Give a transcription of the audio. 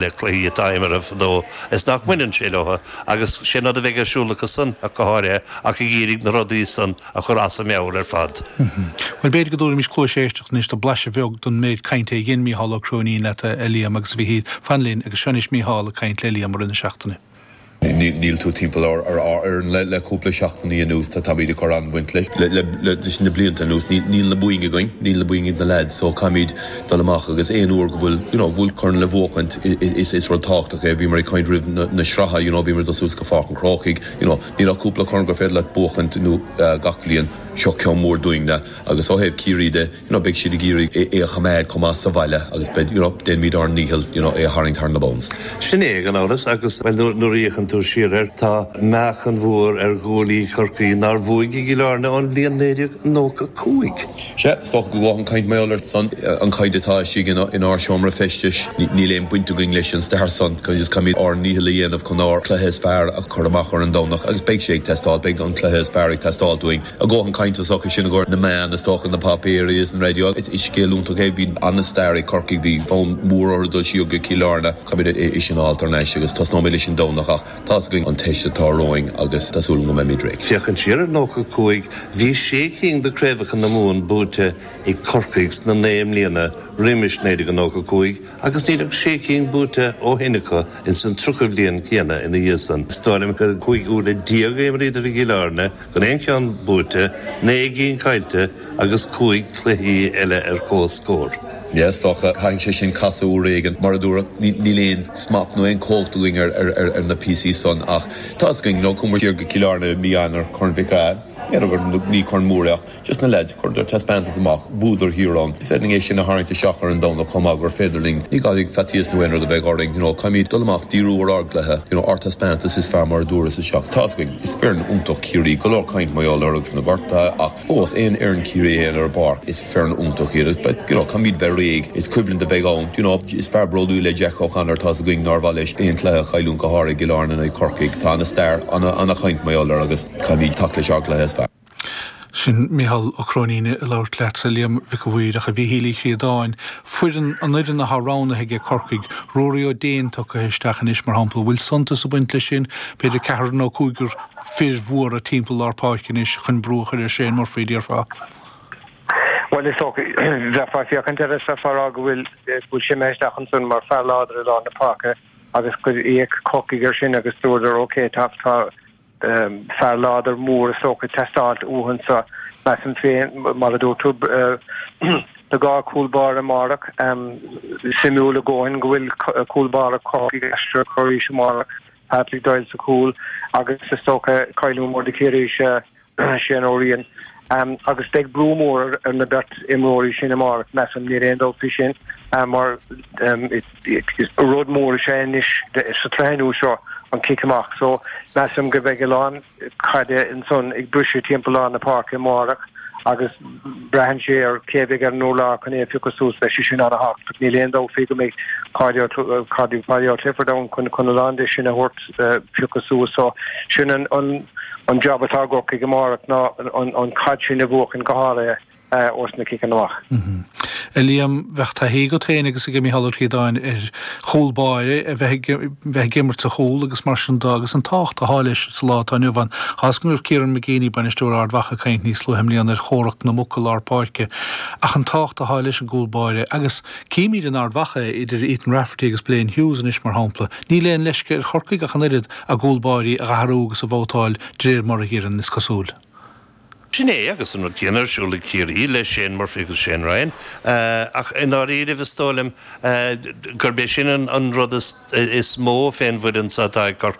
Le cluichí atá imeartha fadó is nach mbaineann sé leo agus sé an rud a bheidh ar siúl acu san ach go háirithe ach ag iarraidh na rudaí san a chur as a meabhair ar fad. Bhuel, b'fhéidir go dtabharfaimis cluais éisteachta anois do blaiseadh bheag den méid cainte a dhein Mícheál Ó Cróinín leat, a Liam agus a Mhichíl. Fan linn agus seo anois Mícheál ag caint le Liam i rith na seachtaine. Níl tú timpeall ár fhoireann le cúpla seachtainí anuas. Táimid ag cur an-bhaint leis leis na blianta anuas. Níl na boinn againn, níl na boinn ag na leaids so caithfimid dul amach agus aon uair go bhfuil you know bhfuil corn le bhuachaint is is rud tábhachtach é. Bhíomar ag caint roimh na sraithe you know bhíomar ag dul suas go Pháirc an Chrócaigh you know níl ach cúpla corn gur féidir leat buachaint nó gach bhliain. Seo ceann mór dúinne agus ó thaobh Ciarraí de you know beidh siad ag iarraidh é a choimeád chomh maith sa bhaile agus beidh you know déanfaimid ár ndícheall you know é a tharraingt thar na bounds. Sin é gan amhras agus bhuel nuair nuair a fhéachann tú siar air tá meáchan mhór ar ghuaillí Chorcaí nár bhuaigh i gCill Airne ón bhliain 1995. Sea, is dócha go bhfuil an chaint mar gheall air san, an chaint atá istigh inár seomra feistis, níl aon baint againn leis an stair san, just caithfimid ár ndícheall a dhéanamh chun ár cluiche is fearr a chur amach ar an Domhnach agus beidh sé ag teastáil, beidh an cluiche is fearr ag teastáil uainn. A dhóthain cainte is dócha sin i gcomhair na meán, is dócha, na páipéirí is an raidió. Is scéal iontach é. Bhí an-stair ag Corcaigh, bhí fonn mór orthu dul siar go Cill Airne. Caithfimid é sin a fháilt thar n-ais agus tosnóimid leis an Domhnach ach tá's againn an teist atá romhainn agus tá súil agam go mbeimid réidh. Féachaint siar ar 95, bhí sé cinn de craobhacha na Mumhan buaite ag Corcaigh sna naoi mbliana roimis 1995 agus níl ach sé cinn buaite ó shin acu ins an 30 bliain céanna ina dhiaidh san. Is dóigh liom gur 15 uaire a imríodar i gCill Airne Gan aon cheann buaite, 9 gcinn caillte agus 5 cluichí eile ar comhscór. Yeah, is dócha, caithfidh sé sin casadh uair éigin. Mar a dúradh, níl aon smacht nó aon chumhacht againn ar na píosaí san ach tá's againn, nó chuamar siar go Cill Airne i mí Eanáir, Corn Mhic Ádha, n'fheadar, ní corn mór é ach just na leaids, chuireadar taispeántas amach, bhuadar thiar ann. Is féidir linn é sin a tharraingt isteach ar an Domhnach chomh maith gur féidir linn, ní gcaithfidh faitíos nó aon rud a bheith orainn, you know, caithfimid dul amach, díriú ar ár gcluiche, you know, ár dtaispeántas is fearr mar a dúras isteach. Tá's againn, is foireann iontach Ciarraí, go leor caint mar gheall orthu agus na gortuithe ach fós, aon fhoireann Ciarraí a théann ar an bpáirc, is foireann iontach iad. But, you know, caithfimid bheith réidh, is coimhlint a bheidh ann, you know, is fear bródúil é Jack O'Connor, tá's againn nár mhaith leis aon chluiche a chailliúint go háirithe i gCill Airne in aghaidh Corcaigh. Tá ana-stair, ana-chaint mar gheall air agus caithfimid teacht leis ár gcluiche is fearr. Sin Mícheál Ó Cróinín ag labhairt leatsa, a Liam Mhic a' Mhaoir, ach a Mhíchíl Uí Chríodáin, foireann, an fhoireann athá roghnaithe aige Corcaigh, Ruairí Ó Déin tugtha isteach anois, mar shampla, bhfuil suntas ag baint leis sin? B'fhéidir ceathrar nó cúigear fir mhóra timpeall lár páirce anois chun brú a chur ar Shane Murphy, déarfá? Bhuel, is dócha, bheifeá ag féachaint air is bheifeá ag rá go bhfuil, go bhfuil sé imithe isteach ansan mar fear láidir i lár na páirce agus gur fhéach Corcaigh air sin agus dúradar ok, tá, tá, fear láidir mór is dócha ag teastáilt uathu anso, measaim féin, mar a dúirt tú, tá gá cúl báire amárach. Suimiúil a dhóthain go bhfuil cúl báire Chorcaigh aisteach arís amárach, Patrick Doyle sa chúl agus is dócha cailliúint mór do Chiarraí is ea Shane O'Riain. Agus beidh brú mór ar na beirt imreoirí sin amárach, measaim, níl aon dabht faoi sin, mar Rud mór is ea anois sa tsraith nua seo an cic amach so measaim go mbeidh a lán caide ansan ag briseadh timpeall lár na páirce amárach agus braitheann sé ar cé a bheidh ar an urlár chun é a phiocadh suas, beidh sé sin an-thábhachtach. Níl aon dabht faoi go mbeidh Páidí Ó Clifford ann chun a lán de sin a thabhairt phiocadh suas so sin an job atá i gCorcaigh amárach ná an chaid sin a bhuachan go háirithe. ós na ciceanna amach. A Liam, bheadh taithí agat féin agus ag Mícheál Ó Críodáin ar chúl báire a bheith ag bheith ag imirt sa chúl agus mar sin de agus an tábhacht atá leis sa lá atá inniu ann. Tá 'fhios agam go raibh Kieran McGeeney, bainisteoir Ard Mhacha, ag caint níos luaithe i mbliana ar chomhrac na muc i lár páirce ach an tábhacht atá leis an gcúl báire agus címid in Ard Mhacha idir Ethan Rafferty agus Blaine Hughes anois mar shampla. Níl aon leisce ar Chorcaigh ach an oiread a gcúl báirí a dh'athrú agus a bhabhtáil de réir mar a dh'iarrann, is cosúil. Sin é, agus an rud céanna ar siúl ag Ciarraí le Shane Murphy agus Shane Ryan. Ach i ndáiríribh is dóigh liom gurb é sin an rud is mó fén bhfoireann so atá ag Corcaigh.